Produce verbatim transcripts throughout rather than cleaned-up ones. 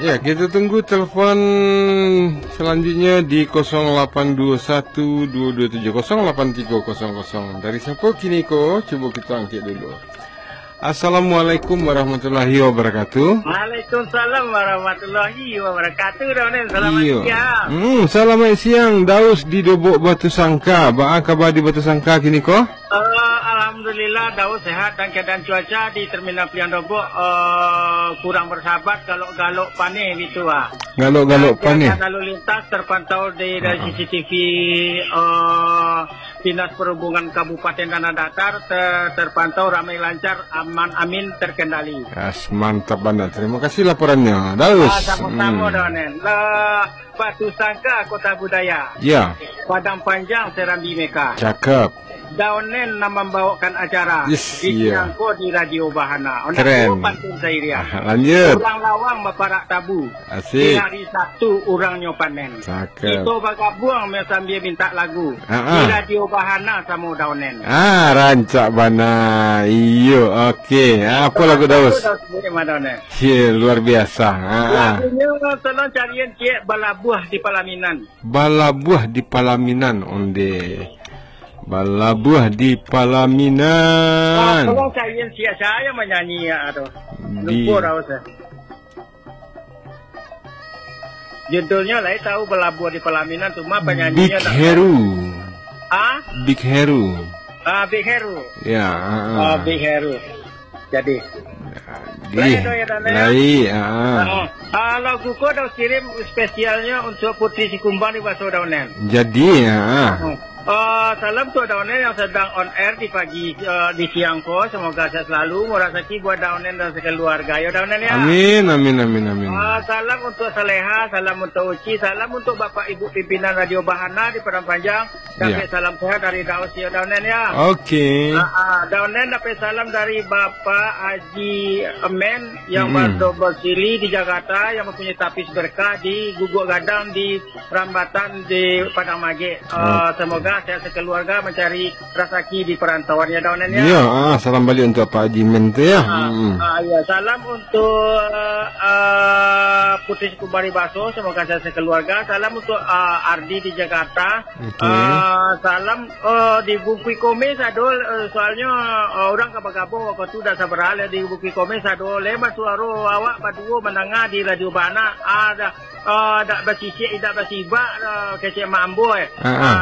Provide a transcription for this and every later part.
Ya, kita tunggu telepon selanjutnya di kosong lapan dua satu dua dua tujuh kosong lapan tiga kosong kosong. Dari siapa kini ko? Cuba kita angkat dulu. Assalamualaikum warahmatullahi wabarakatuh. Waalaikumsalam warahmatullahi wabarakatuh, Daun Nen. Selamat Iyo. siang. Hmm, selamat siang, Daus di Dobok Batu Sangka. Baa kaba di Batu Sangka kini ko? Eh, Alhamdulillah, Daus sehat dan keadaan cuaca di Terminal Pilihan Dobok, eh, kurang bersahabat, galok-galok paneh gitu, ah. Galok-galok Dan paneh. keadaan lalu lintas terpantau di, dari Ah, ah. C C T V, eh, Dinas Perhubungan Kabupaten Tanah Datar ter-, terpantau ramai lancar, aman, amin, terkendali. Yes, mantap bana. Terima kasih laporannya, Daus. Ah, sama-sama, Hmm. Daun Nen. Lah, Batu Sangka Kota Budaya. Ya. Padang Panjang Serambi Mekah. Cakep. Daun Nen nan mambawakan acara Yes, di iya. siang ko di Radio Bahana. Ondak Keren. tua pantun sairiah. Ah, lanjut. Urang lawang baparak tabu. Asik. Di hari Sabtu urangnyo panen. Cakep. Kito bagabuang sambia mintak lagu. Ha, ha. Di Radio Bahana samo Daun Nen. Ah, rancak bana. Iyo, oke. Ah, apa lagu Daus? Daus sendiri mah Daun Nen. Ye, luar biasa. Ha, ha. Lagunyo tolong carian ciek Balabuah di Palaminan. Balabuah di Palaminan, onde. Balabuah di Palaminan. Ah, tolong carian ciek, sia yang manyanyi ya tu. Di Lupa Daus, eh. Judulnyo lai tahu, Balabuah di Palaminan, cuma Big panyanyinya tak Heru. Ah? Big Heru. Ah, Big Heru. Ya, ah, Ah, ah. Big Heru. Jadi. Jadi, Lai tu ya, Daun Nen, ya? lai, ah, ah. Ah, ah, lagu ko Daus kirim spesialnyo untuk Putri Sikumbang di Baso Daun Nen. Jadi, ah, ah. Ah, salam untuk Daun Nen yang sedang on air di pagi, eh, di siang ko. Semoga sehat selalu, murah rezeki buat Daun Nen dan sekeluarga. Yo, Daun Nen, ya. Amin, amin, amin, amin. Ah, salam untuk Saleha, salam untuk Uci, salam untuk Bapak Ibu pimpinan Radio Bahana di Padang Panjang. Dapek Ya. salam sehat dari Daus, yo, Daun Nen, ya. Oke. Ah, ah, Daun Nen dapek salam dari Bapak Haji Emen yang Mm-mm. berdomisili di Jakarta, yang mempunyai tapis berkah di Guguk Gadang di Rambatan di Padang Magek. Ah, Oke. semoga sehat sekeluarga mencari rasaki di perantauan, ya, Daun Nen, ya. Ya, ah, salam balik untuk Pak Haji Emen tu, ya. Ah, Mm-mm. ah, ya, salam untuk, ah, Putri Sikumbang di Baso, semoga sehat sekeluarga. Salam untuk, ah, Ardi di Jakarta. Oke. Ah, salam, eh, di Bukik Komes ado, eh, soalnyo, eh, urang ka bagabung wakatu dak sabaralah di Bukik Komes ado. Lai basuaro awak baduo mandanga di Radio Bahana. Ah, dak, eh, dak basisik, dak basibak, eh, kecek Mak Ambo, eh. Ah, ah.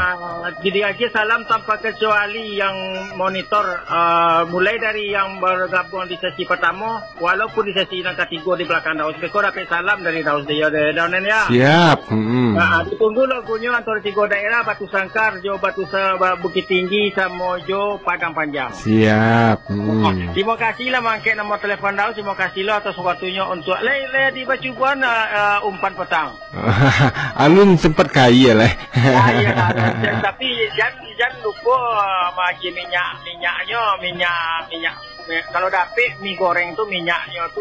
Ah, jadi aja salam tanpa kecuali yang monitor, eh, mulai dari yang bergabung di sesi pertama, walaupun di sesi nan katigo di belakang Daus, beko dapek salam dari Daus, dia, dia, Daun Nen, ya. Siap. Mm-mm. Nah, ditunggu lagunyo antara tigo daerah, Batu Sangkar, jo Batu Sa-, Ba-, Bukittinggi, samo jo Padang Panjang. Siap. Mm-mm. Terima kasih lah mangkek nomor telepon Daus. Terima kasih lah atas waktunyo untuk lai, lai di Bacubuan, ah, ah, umpan petang. Alun sempat kaya lah. Ah, iya, Daun Nen. Tapi jan, jan lupo, ah, magi minyak, minyaknyo, minyak, minyak Mi-, kalau dapek mi goreng tu, minyaknyo tu,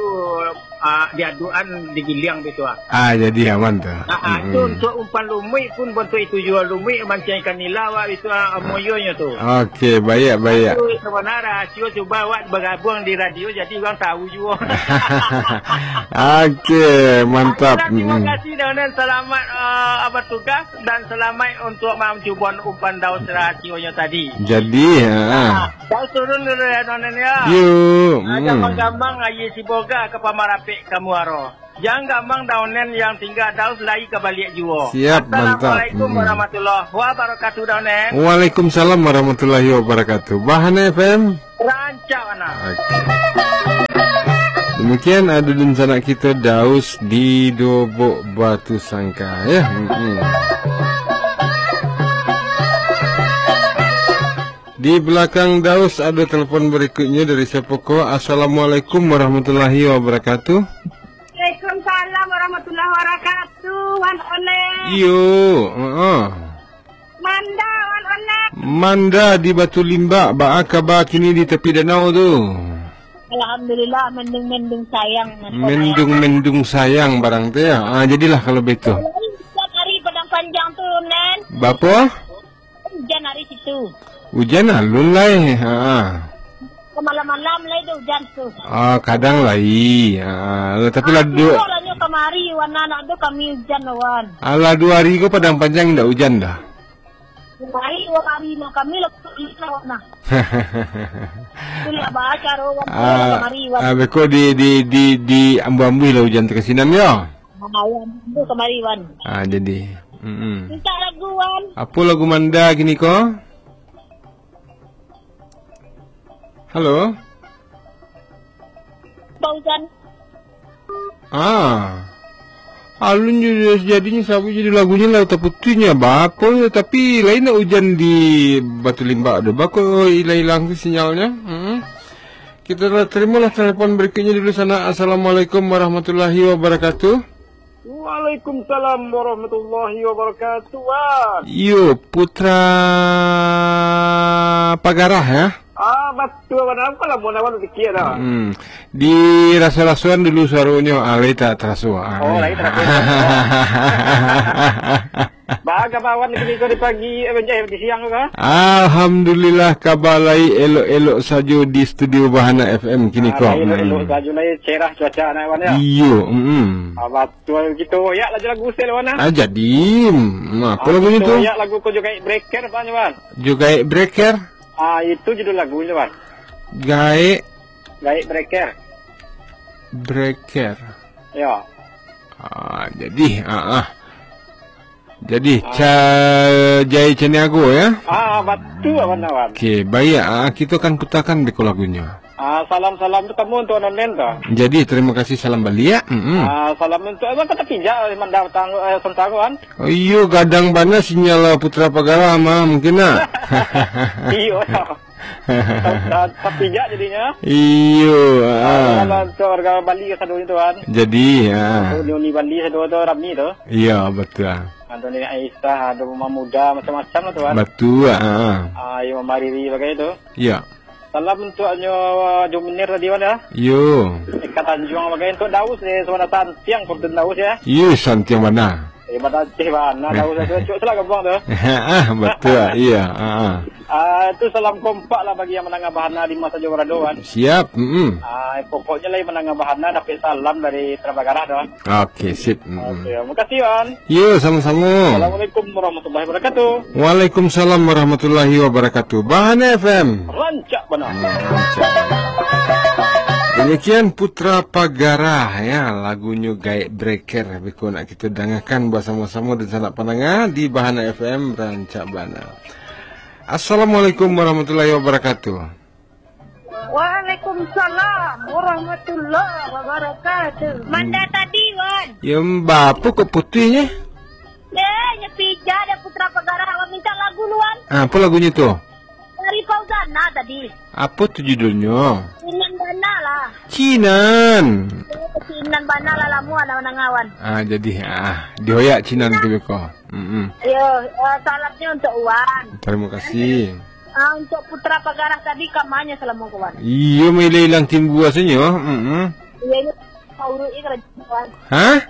ah, diadukan, digiliang bitu, ah. Ah, jadi aman tu. Ah, ah, tu Mm-mm. untuk umpan lumuik pun bantuak itu juo, lumuik mancang ikan nila, wak, itu, ah, moyonyo tu. Oke, baik, baik. Tu sabana rahasio, cubo awak bagabuang di radio, jadi urang tahu juo. Oke, mantap. Ayolah, terima Mm-mm. kasih, Daun Nen. Selamat, ah, bertugas dan selamat untuk mancubuan umpan Daus rahasionyo tadi. Jadi, ha. Ah, Daus turun dulu ya, Daun Nen, ya. Yo, Ah, hmm. Gamang-gamang aia siboga ka pamarapek ka muaro. Jan gamang Daun Nen yang tingga, Daus lai ka baliak juo. Siap, mantap. Assalamualaikum Hmm. warahmatullahi wabarakatuh, Daun Nen. Waalaikumsalam warahmatullahi wabarakatuh. Bahana F M. Rancak bana. Oke. Demikian ado dunsanak kito Daus di Dobok Batu Sangka, ya. Mm-mm. Di belakang Daus ada telepon berikutnya dari siapa ko? Assalamualaikum warahmatullahi wabarakatuh. Waalaikumsalam warahmatullahi wabarakatuh, Wan Onek. Iyo, heeh. Manda, Wan Onek. Manda di Batu Limbak, baa kaba kini di tepi danau tu? Alhamdulillah, mendung-mendung sayang, Mas Onek. Mendung-mendung sayang barang tu, ya. Ah, jadilah kalau begitu. Hujan hari Padang Panjang tu, Nen. Bapa? Hujan hari situ. Hujan alun lai. Ha. Malam-malam lai tu hujan tu. Ah, kadang lai. Ha, tapi lah Tibo duduk lah nyo ka Kamari, Wan, anak tu kami ujan, Wan. Alah, duo hari ko Padang Panjang indak ujan doh. Kamari, duo hari, nah, kami lah, Wan, nah. Itulah baca, Wan, Ah, kamari, Wan. Ah, beko di, di, di, di ambu-ambu lah ujan tu ka sinan, yo? Ah, Wan, tu kamari, Wan. Ah, jadi. Mm-mm. Minta lagu, Wan. Apo lagu manda kini ko? Halo? Fauzan. Ah. Alun jo jadinyo, sabuik judul lagunyo lah taputuih nyo. Baa ko yo, tapi lain nak ujan di Batu Limbak tu. Baa ko ilang-ilang tu sinyalnyo. Hmm. Kita lah terimalah telepon berikutnya dulu sana. Assalamualaikum warahmatullahi wabarakatuh. Waalaikumsalam warahmatullahi wabarakatuh, Wan. Iyo, Putra Pagarah, ya? Ah, batua, Wan. Apo lah, mun awak pikir dah. Hmm. Di raso-rasoan dulu suaronyo, ah, lai tak taraso. Ah, Oh, lai taraso. Baa kaba Wan kini ko di pagi, eh, eh, di siang tu, kah? Alhamdulillah, kaba lai elok-elok sajo di studio Bahana F M kini Ah, ko. Lai elok-elok Hmm. sajo, lai cerah cuaca, nah, Wan, ya? Iyo, mm. Ah, batua, kito oyak lah jo lagu sel, Wan, ah. Ah, jadi, hmm, apo Ah, lagunyo kito tu? Oyak lagu ko jo Gaek Breaker, Wan, Wan. Jo Gaek Breaker? Ah, itu judul lagunyo, Wan. Gaek Gaek Breaker. Breaker. Ya. Ah, jadi, ah, ah. Jadi, Ah. Ca-, Jai Caniago, ya? Ah, batua, Wan, Wan. Okey, baik. Ah, kita akan putarkan beko lagunyo. Ah, salam-salam tu kamu untuk Nonen tu. Jadi, terima kasih, salam baliak. Mm-mm. Ah, salam untuk, apa kata pijak, Manda Batang, eh, Sontago, kan? Oh, iyo, gadang bana sinyal Putra Pagarah mah, mungkin, nah. Iyo, ya. Ta-, ta-, tapijak jadinyo. Iyo, Ah, ah. Salam untuk warga Bali kasadonyo tu, kan. Jadi, ah. Untuk Uni Bali sado tu rami tu. Iyo, betul. Ado Nini Aisyah, ado Mama Muda, macam-macam lah tu, kan. Betul, ah. Ah, iyo, Mama Riri bagai tu. Iyo. Salam untuak nyo, Juminir tadi, Wan, ya. Iyo. Eka Tanjuang bagai, untuak Daus, eh, Sabana Santiang, Fortun Daus, ya. Iyo, santiang bana. Eh, bana Aceh bana, Daus, Aceh, cuk, salah gabuang tu. Ah, betul, iyo, ah, ah. Ah, tu salam kompak lah bagi yang mandanga Bahana di ma sajo barado, Wan. Siap, mm-mm. Ah, pokoknyo lah yang mandanga Bahana dapek salam dari Putra Pagarah tu, Wan. Okey, sip, mm-mm. Okey, makasih, Wan. Yo, samo-samo. Assalamualaikum warahmatullahi wabarakatuh. Waalaikumsalam warahmatullahi wabarakatuh. Bahana F M. Rancak bana. Hmm, rancak. Demikian Putra Pagarah, ya, lagunyo Gaek Breaker. Beko nak kita dangakan basamo-samo dan sanak pandanga di Bahana F M, rancak bana. Assalamualaikum warahmatullahi wabarakatuh. Waalaikumsalam warahmatullahi wabarakatuh. Manda tadi, Wan. Ya, mba, apo kok putuih, eh? Eh, nyo pijak dek Putra Pagarah, Wan minta lagu lu, Wan. Ah, apo lagunyo tu? Dari Fauzana tadi. Apo tu judulnyo? Cinan Bana lah. Cinan. Eh, Cinan Bana lah, lamo anak manangawan. Ah, jadi, ah, dioyak Cinan tu beko. Mm-mm. Yo, eh, salamnyo untuk Wan. Terima kasih. Ah, untuk Putra Pagarah tadi, kamanyo salamo ko, Wan? Iyo, mailang-ilang timbua sajo. Mm-mm. Iyo, iyo. Mauruik karajo, Wan. Hah?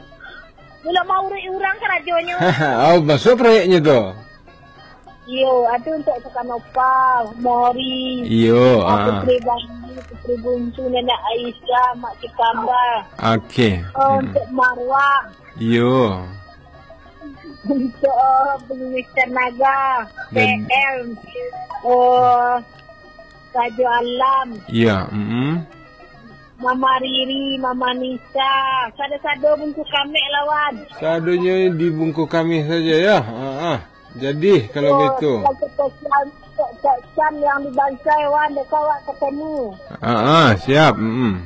Bilo mauruik urang karajonyo. Oh, masuak proyeknyo tu? Iyo, ado untuk Sukanova, Mori, Iyo, ah, ah. Putri Bali, Putri Buncu, Nenek Aisyah, Mak Cikamba. Okey. Oh, Mm-mm. Untuk Marwah. Iyo. Untuk, eh, Pengemis Naga, Dan P M, oh, Rajo Alam, Iya, mm-mm. Mama Riri, Mama Nisa, sado-sado bungkuh kameh lah, Wan. Sadonyo dibungkuh kameh saja, ya. Ha, ah. Jadi, kalau Oh, begitu. Kalau pesan, pesan yang di Bansai, Wan, dek awak ketemu. Ha, ah, siap. Mm-mm.